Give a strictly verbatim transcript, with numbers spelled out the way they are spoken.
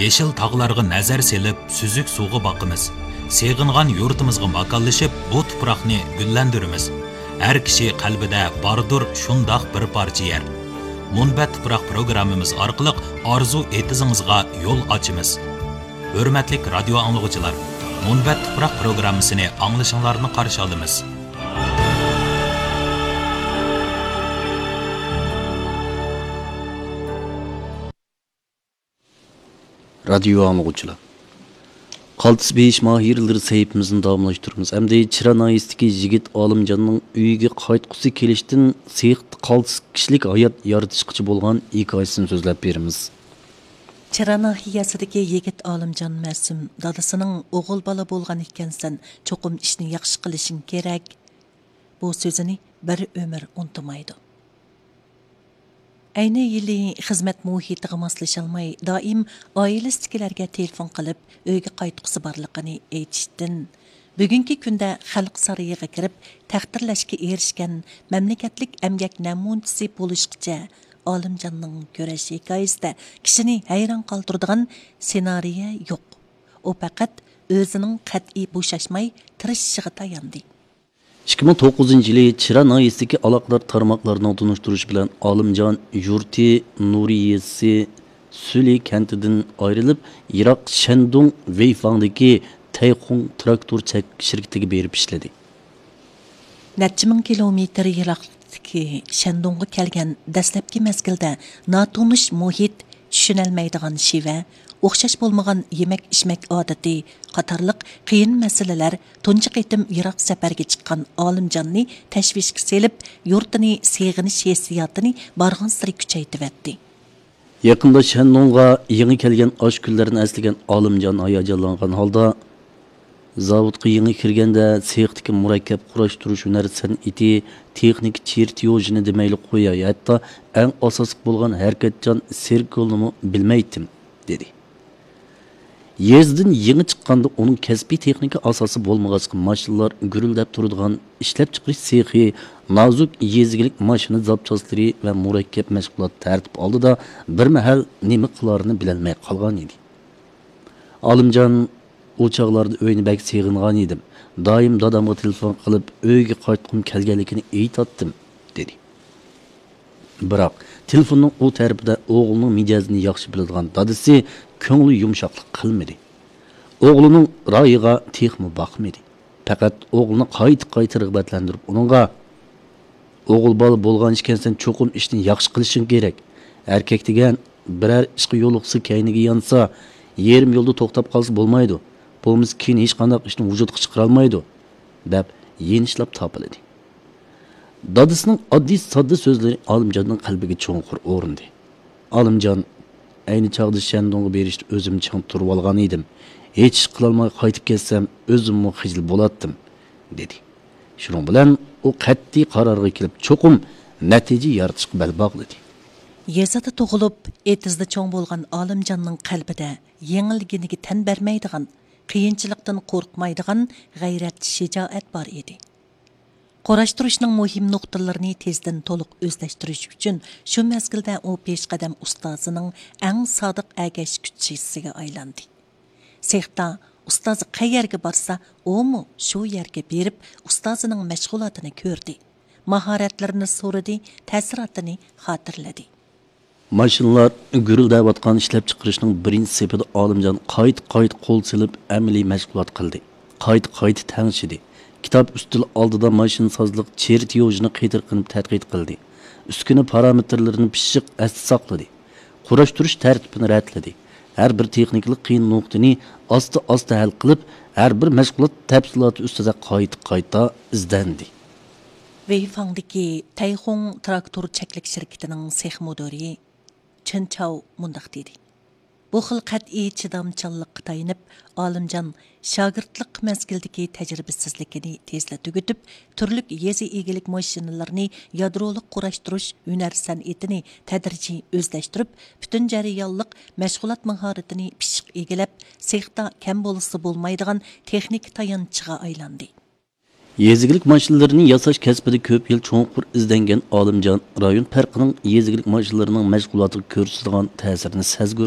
يېشىل تاغلارغا نەزەر سېلىپ، سۈزۈك سۇغا باقىمىز. سېغىنغان يۇرتىمىزغا ماكانلىشىپ، بۇ تۇپراقنى گۈللەندۈرىمىز. ھەر كىشى قەلبىدە باردۇر شۇنداق بىر پارچە يەر. مۇنبەت تۇپراق پروگراممىمىز ئارقىلىق ئارزۇ ئېتىزىڭىزغا يول ئاچىمىز. ھۆرمەتلىك رادىيو ئاڭلىغۇچىلار، مۇنبەت تۇپراق پروگراممىسىنى ئاڭلىشىڭلارنى قارشى ئالىمىز. رادىيو ئاڭلىغۇچىلار، قالتىس بېيىش ماھىرلىرى سەھىپىمىزنى داۋاملاشتۇرىمىز. ئەمدى چىرا ناھىيەسىدىكى يىگىت ئالىمجاننىڭ ئۆيىگە قايتقۇسى كېلىشتىن سېختا قالتىس كىشىلىك ھايات يارىتىشقىچە بولغان ھېكايىسىنى سۆزلەپ بېرىمىز. چىرا ناھىيەسىدىكى يىگىت ئالىمجان مەسۇم دادىسىنىڭ «ئوغۇل بالا بولغان ئىكەنسەن، چوقۇم ئىشنى ياخشى قىلىشىڭ كېرەك» بۇ سۆزىنى بىر ئۆمۈر ئۇنتۇمايدۇ. ئەينى يىلى خىزمەت مۇھىتىغا ماسلىشالماي، دائىم ئائىلىسىدىكىلەرگە تېلېفون قىلىپ، ئۆيگە قايتقۇسى بارلىقىنى ئېيتىشتىن، بۈگۈنكى كۈندە خەلق سارىيىغا كىرىپ، تەقدىرلەشكە ئېرىشكەن مەملىكەتلىك ئەمگەك نەمۇنىچىسى بولۇشقىچە ئالىمجاننىڭ كۈرەش ھېكايىسىدە كىشىنى ھەيران قالدۇرىدىغان سېنارىيە يوق. ئۇ پەقەت ئۆزىنىڭ قەتئىي بوشاشماي تىرىشىشىغا تاياندى. ئىككى مىڭ توققۇزىنچى يىلى چىرا ناھىيەسىدىكى ئالاقىدار تارماقلارنىڭ تونۇشتۇرۇشى بىلەن ئالىمجان يۇرتى نۇرى يېزىسى سۈلى كەنتىدىن ئايرىلىپ، يىراق شەندۇڭ ۋېيفاڭدىكى تەيخۇڭ تىراكتور چەكلىك شىركىتىگە بېرىپ ئىشلىدى. نەچچە مىڭ كىلومېتىر يىراقلىقتىكى شەندۇڭغا كەلگەن دەسلەپكى مەزگىلدە ناتونۇش مۇھىت، چۈشىنەلمەيدىغان شېۋە، ئوخشاش بولمىغان يېمەك-ئىچمەك ئادىتى قاتارلىق قىيىن مەسىلىلەر تۇنجى قېتىم يىراق سەپەرگە چىققان ئالىمجاننى تەشۋىشكە سېلىپ، يۇرتىنى سېغىنىش ھېسسىياتىنى بارغانسېرى كۈچەيتىۋەتتى. يېقىندا شەندۇڭغا يېڭى كەلگەن ئاشۇ كۈنلەرنى ئەسلىگەن ئالىمجان ھاياجانلانغان ھالدا، زاۋۇتقا يېڭى كىرگەندە سېختىكى مۇرەككەپ قۇراشتۇرۇش ھۈنەر سەنئىتى، تېخنىكا چېرتيوژىنى دېمەيلى قوياي، ھەتتا ئەڭ ئاساسلىق بولغان ھەرىكەتچان سىركولنىمۇ بىلمەيتتىم، دېدى. يېزىدىن يېڭى چىققاندا ئۇنىڭ كەسپىي تېخنىكا ئاساسى بولمىغاچقا، ماشىنىلار گۈرۈلدەپ تۇرىدىغان ئىشلەپچىقىرىش سېخى، نازۇك يېزا ئىگىلىك ماشىنا زاپچاسلىرى ۋە مۇرەككەپ مەشغۇلات تەرتىپ ئالدىدا بىر مەھەل نېمە قىلارىنى بىلەلمەي قالغان ئىدى. ئالىمجان، ئۇ چاغلاردا ئۆينى بەك سېغىنغان ئىدىم. دائىم دادامغا تېلېفون قىلىپ، ئۆيگە قايتقۇم كەلگەنلىكىنى ئېيتاتتىم، دېدى. بىراق، تېلېفوننىڭ ئۇ تەرىپىدە ئوغلىنىڭ مىجەزىنى ياخشى بىلىدىغان دادىسى كۆڭلى يۇمشاقلىق قىلمىدى. ئوغلىنىڭ رايىغا تېخىمۇ باقمىدى. پەقەت ئوغلىنى قايتا-قايتا رىغبەتلەندۈرۈپ، ئۇنىڭغا، «ئوغۇل بالا بولغان ئىكەنسەن، چوقۇم ئىشنى ياخشى قىلىشىڭ كېرەك. ئەركەك دېگەن بىرەر ئىشقا يولۇقسا، كەينىگە يانسا، يېرىم يولدا توختاپ قالسا بولمايدۇ. بولمىسا كېيىن ھېچقانداق ئىشنى ۋۇجۇدقا چىقىرالمايدۇ» دەپ يېنىشلاپ تاپىلىدى. دادىسىنىڭ ئاددىي ساددا سۆزلىرى ئالىمجاننىڭ قەلبىگە چوڭقۇر ئورنىدى. ئالىمجان، ئەينى چاغدا شەندۇڭغا بېرىشتە ئۆزۈمنى چىڭ تۇرۇۋالغان ئىدىم. ھېچ ئىش قىلالماي قايتىپ كەتسەم، ئۆزۈممۇ خىجىل بولاتتىم، دېدى. شۇنىڭ بىلەن ئۇ قەتئىي قارارغا كېلىپ، چوقۇم نەتىجە يارىتىشقا بەل باغلىدى. يېزىدا تۇغۇلۇپ، ئېتىزدا چوڭ بولغان ئالىمجاننىڭ قەلبىدە يېڭىلگىنىگە تەن بەرمەيدىغان، قىيىنچىلىقتىن قورقمايدىغان غەيرەت، شىجائەت بار ئىدى. قۇراشتۇرۇشنىڭ مۇھىم نۇقتىلىرىنى تېزدىن تولۇق ئۆزلەشتۈرۈش ئۈچۈن، شۇ مەزگىلدە ئۇ پېشقەدەم ئۇستازىنىڭ ئەڭ سادىق ئەگەشكۈچىسىگە ئايلاندى. سېختا ئۇستازى قەيەرگە بارسا، ئۇمۇ شۇ يەرگە بېرىپ، ئۇستازىنىڭ مەشغۇلاتىنى كۆردى، ماھارەتلىرىنى سورىدى، تەسىراتىنى خاتىرىلىدى. ماشىنىلار گۈرۈلدەۋاتقان ئىشلەپچىقىرىشنىڭ بىرىنچى سېپىدە ئالىمجان قايتا-قايتا قول سېلىپ ئەمەلىي مەشغۇلات قىلدى. قايتا-قايتا تەڭشىدى. كىتاب ئۈستىلى ئالدىدا ماشىنىسازلىق چېرتيوژىنى قېتىرقىنىپ تەتقىق قىلدى. ئۈسكۈنە پارامېتىرلىرىنى پىششىق ئەستە ساقلىدى. قۇراشتۇرۇش تەرتىپىنى رەتلىدى. ھەر بىر تېخنىكىلىق قىيىن نۇقتىنى ئاستا-ئاستا ھەل قىلىپ، ھەر بىر مەشغۇلات تەپسىلاتى ئۈستىدە قايتا-قايتا ئىزدەندى. ۋېيفاڭدىكى تەيخۇڭ تىراكتور چەكلىك شىركىتىنىڭ سېخ مۇدىرى چېن چاۋ مۇنداق دېدى: بۇ خىل قەتئىي چىدامچانلىققا تايىنىپ، ئالىمجان شاگىرتلىق مەزگىلىدىكى تەجرىبىسىزلىكىنى تېزلا تۈگىتىپ، تۈرلۈك يېزا ئىگىلىك ماشىنىلىرىنى يادرولۇق قۇراشتۇرۇش ھۈنەر سەنئىتىنى تەدرىجىي ئۆزلەشتۈرۈپ، پۈتۈن جەريانلىق مەشغۇلات ماھارىتىنى پىششىق ئىگىلەپ، سېختا كەم بولسا بولمايدىغان تېخنىكا تايانچىغا ئايلاندى. يېزا ئىگىلىك ماشىنىلىرىنى ياساش كەسپىدە كۆپ يىل چوڭقۇر ئىزدەنگەن ئالىمجان رايون پەرقىنىڭ يېزا ئىگىلىك ماشىنىلىرىنىڭ مەشغۇلاتىغا كۆرسىتىدىغان تەسىرىنى سەزگۈر